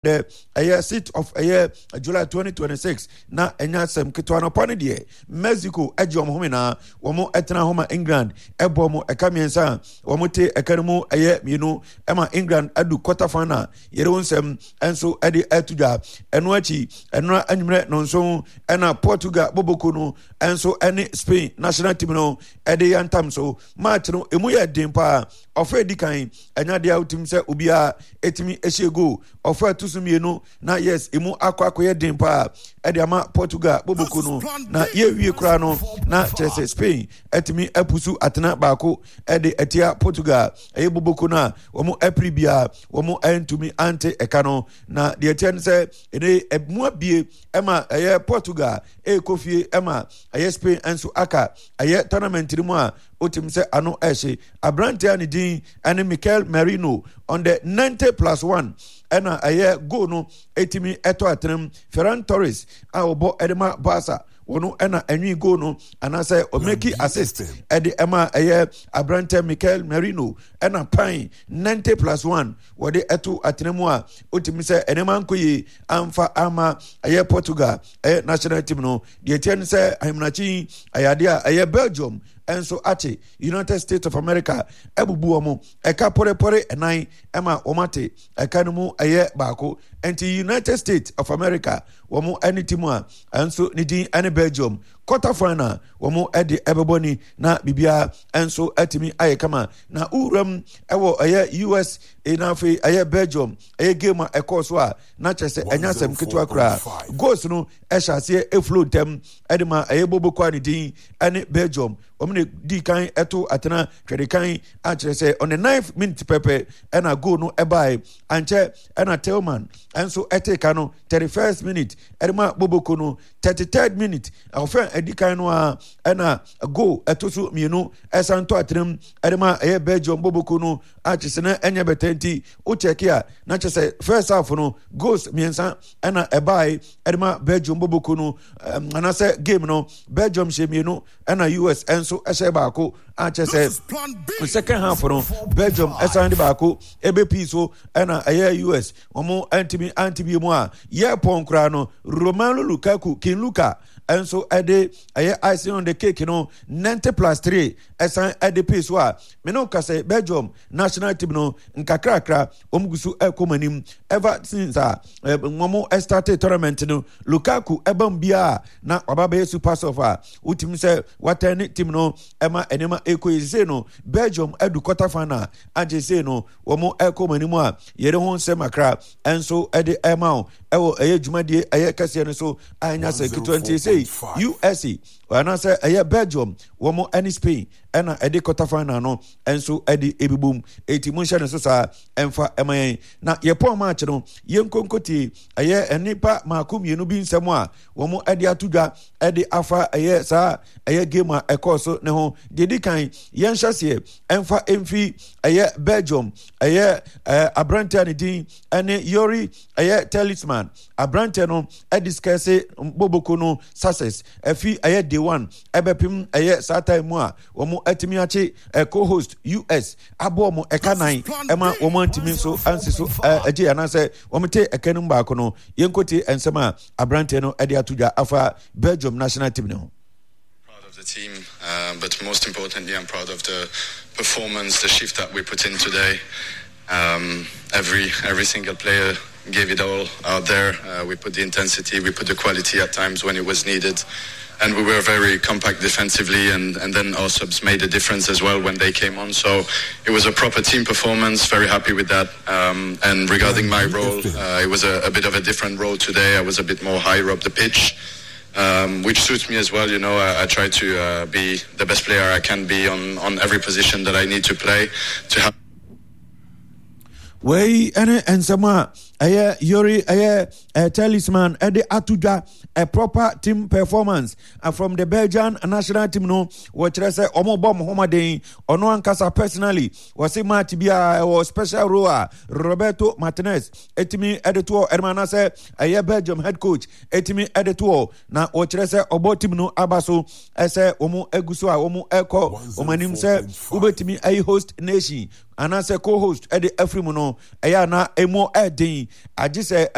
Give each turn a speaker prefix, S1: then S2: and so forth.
S1: The ɛyɛ 6th of ɛyɛ July 2026 na ɛnya asɛm ketewa no pa no deɛ Mexico agye wɔn home na wɔn ɛtena hɔ ma England ɛbɔ wɔn ɛka mmiɛnsa a wɔn te ɛka no mu ɛyɛ mmienu ɛma England adu quarter final yɛde wɔn nsɛm ɛnso ɛde ɛto dwa. Ɛno akyi ɛno anwummerɛ nonson ɛna Portugal boboko no ɛnso ɛne Spain national team no ɛde yɛntam so. Match no emu yɛ den paa. Ɔfɛ di kan ɛnya deɛ a wotim sɛ obiara ɛtumi ɛhyɛ goal. Ɔfɛ ɛto so mmienu na yes, emu akɔ akɔyɛ den paa ɛde ama Portugal boboko no, na yɛwie koraa no na kyerɛ sɛ Spain ɛtumi apusu atena baako ɛde ɛtia Portugal ɛyɛ boboko no a wɔn ɛpere biara wɔn ɛntumi ante ɛka no. Na deɛ ɛteɛ no sɛ ɛne ɛmu abie ɛma ɛyɛ Portugal ɛrekɔ fie ɛma ɛyɛ Spain nso aka ɛyɛ tournament no mu a wotim sɛ ano ɛhye. Aberanteɛ a ne din ɛne Mikel Merino on the 90 plus 1 ɛna ɛyɛ goal no ɛtumi ɛtɔ atenam. Ferran Torres a ɔbɔ ɛde ma Barca, wɔn ɛna ɛnwi goal no anaasɛ ɔmɛki assist ɛde ɛma ɛyɛ aberanteɛ Mikel Merino, ɛna pan 90 plus 1 wɔde ɛto atena mu a wotumi sɛ nneɛma nkɔ yie amfa ama ɛyɛ Portugal ɛyɛ national team no. Deɛ ɛteɛ no sɛ ahemanakyi ɛyɛ adeɛ a ɛyɛ Belgium nso ate United States of America abubu wɔn ɛka pɔrepɔre ɛnan ɛma wɔn ate ɛka no mu ɛyɛ baako. Nti United States of America wɔn ɛne team a ɛnso ne din ɛne Belgium, quarter final wɔn ɛde ɛbɛbɔ ni na biribiara nso atumi ayɛ kama. Na wuram ɛwɔ ɛyɛ US na afei ɛyɛ Belgium ɛyɛ game a ɛkɔɔ so a na kyerɛ sɛ ɛnyɛ asɛm ketewa koraa. Goals no ɛhyɛ aseɛ eflow ntɛm ɛde ma ɛyɛ bobo kɔ a ne din ɛne Belgium. Wɔn na di kan ɛto atena twɛde kan a kyerɛ sɛ on the ninth minute pɛpɛ ɛna goal no ɛbae. Ankyɛ ɛna Tillman ɛnso ɛte ka no 31st minute ɛde ma boboko no. 33rd minute ɔfɛn ɛdi kan no a ɛna goal ɛto so mmienu ɛsan tɔ atenam ɛde ma ɛyɛ Belgium boboko no a kyerɛ sɛ na ɛnyɛ bɛtɛ. Nti wokyɛke a na kyerɛ sɛ first half no goals mmiɛnsa ɛna ɛbae ɛde ma Belgium boboko no, anaasɛ game no Belgium hyɛ mmienu ɛna US nso ɛhyɛ baako a kyerɛ sɛ second half no Belgium ɛsan de baako ɛbɛpii so ɛna ɛyɛ US wɔn ɛntumi ante bi mu a yɛ pɔn koraa no Romelu Lukaku, King Luka, ɛnso ɛde ɛyɛ icing on the cake no 90 plus 3 ɛsan ɛde pii so a mene wo kasɛ Belgium national team no nkakrakra wɔn gu so ɛkɔ wɔn anim. Ever since a wɔn ɛstarte tournament no, Lukaku ɛbam biara na waba bɛyɛ super sub a wotumi sɛ watɛn ne team no ɛma nneɛma ɛkɔ yie. Sei no Belgium adu quarter final agye, sei no wɔn ɛkɔ wɔn anim a yɛde ho nsɛm akra ɛnso ɛde ɛma wo ɛwɔ ɛyɛ dwumadie ɛyɛ kɛseɛ no so a ɛnya sɛ ketewa. Nti sei USA anaasɛ ɛyɛ Belgium wɔn ɛne Spain ɛna ɛde quarter final no ɛnso ɛde ebibom. Eti mo nhyɛ ne so saa ɛnfa ɛma yɛn na yɛpɔn match no yɛn nkonkotie ɛyɛ nnipa mako mmienu bi nsɛm a wɔn ɛde ato dwa ɛde afa ɛyɛ saa ɛyɛ game a ɛkɔɔ so ne ho. Deɛ di kan, yɛn hyɛ seɛ ɛnfa ɛmfi ɛyɛ Belgium ɛyɛ ɛɛ aberanteɛ a ne din ɛne Yori ɛyɛ Talisman. Aberanteɛ no ɛdiskɛse boboko no success ɛfi ɛyɛ day one ɛbɛpem ɛyɛ saa time mu a wɔn atumi akye co-host US aboɔ wɔn ɛka nan ɛma wɔn antumi nso ansi so ɛgye anaasɛ wɔn te ɛka no mu baako no. Yɛnkotie nsɛm a aberanteɛ no ɛde ato dwa afa Belgium national team ne ho.
S2: Proud of the team, but most importantly, I'm proud of the performance, the shift that we put in today. Every single player gave it all out there. We put the intensity, we put the quality at times when it was needed, and we were very compact defensively. And then our subs made a difference as well when they came on. So it was a proper team performance. Very happy with that. And regarding my role, it was a bit of a different role today. I was a bit more higher up the pitch, which suits me as well. I try to be the best player I can be on every position that I need to play to have.
S1: Wei ɛne nsɛm a ɛyɛ Yori ɛyɛ talisman ɛde ato dwa. A proper team performance from the Belgian national team no, wɔkyerɛ sɛ wɔn bɔ wɔn ho mmɔden. Ɔno ankasa personally wɔsi match bi a ɛwɔ special role a Roberto Martinez etimi ɛde toɔ ɛde ma anaasɛ ɛyɛ Belgium head coach etimi ɛde toɔ, na wɔkyerɛ sɛ ɔbɔ team no aba so ɛsɛ wɔn egu so a wɔn ɛkɔ wɔn anim sɛ wobɛtumi ayi host nation anaasɛ co-host ɛde afiri mu no ɛyɛ ana emu ɛden. Agye sɛ.